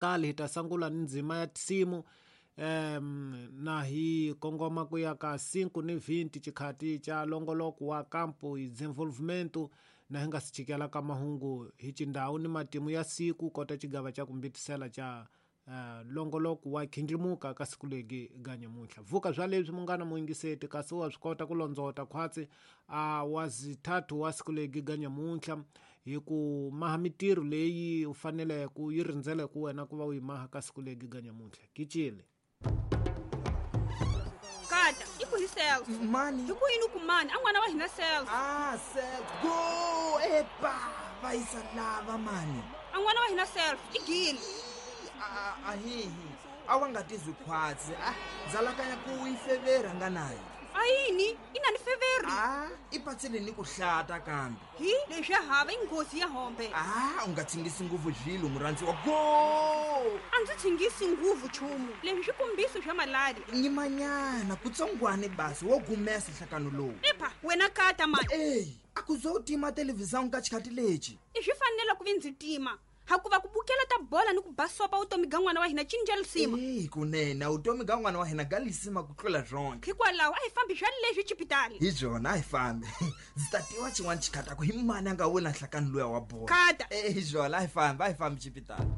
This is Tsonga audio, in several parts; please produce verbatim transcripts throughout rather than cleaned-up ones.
Kale hi ta sungula ni ndzima ya tinsimu um na hi kongoma ku ya ka cinco ni vinte xikhati xa longoloko wa campo e desenvolvimento na hi nga si chikela ka mahungu hi xindhawu ni matimu ya siku kota xigava xa ku mbitisela xa uh, longoloko wa khindlimuka ka siku legi ga nyamuntlha vuka swa leswi munghana muyingiseti kasi wa swi kota ku londzota khwatsi a wa zithathu wa siku legi ga nyamuntlha hi ku maha mitirho leyi u faneleke ku yi rindzele ku wena ku va u yi maha ka siku legi ga nyamuntlha kicile Kata, i ku hi self. Mani. Hi ku yini ku mani? A n'wana wa hina self. Ah, self. Go! Epa! Va yisa lava mani. A n'wana wa hina self i gile. A hihi. A wa nga tizwi khwatsi. Ah, ndzalakanya ku yi fevera nga nayo. A yini? I na ni feveri. Ah, i patsile ni ku hlata kambe. Hi, leswi ya hava i nghozi ya hombe. Ah, u nga tsingisi nguvu zvilo murhandziwa. Go! A ndzi tsingisi nguvu chumu. Leswi swi kombiso swa malaria. Nyimanyana kutsongwane basi wo gumesa nhlakano lowu. Epa, wena kata mani. Ey, a ku zo tima televhizão ka xikhati lexi. I swi fanele ku vi ndzi tima. Hakuva ku bukela ta bola ni ku basopa vutomi ga n'wana wa hina cinca lisima. Ey, kunene vutomi ga n'wana wa hina ga lisima ku tlula zonke. Hikwalaho a hi fambi swa leswi xipitali. Hi byona a hi fambi. Ndzi ta tiva xin'wana xikhati ku hi mani a nga wina nhlakano luya wa bola. Kata. Ey, hi byona a hi fambi, a hi fambi xipitali.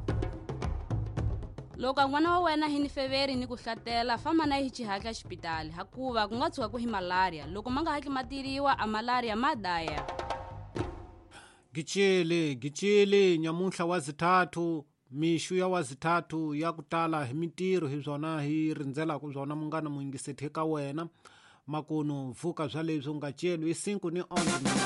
Loko n'wana wa wena hi ni feveri ni ku hlatela famba na hi xihatla xipitali hakuva ku nga tshuka ku hi malaria loko ma nga hatli ma tiriwa a malaria ma daya. Gicele gicele nyamuntlha wa zithathu mixu ya wa zithathu ya ku tala hi mitirho hi byona hi rindzelaka byona munghana muyingiseti ka wena makunu vuka swa leswi u nga celi i cinco ni onze.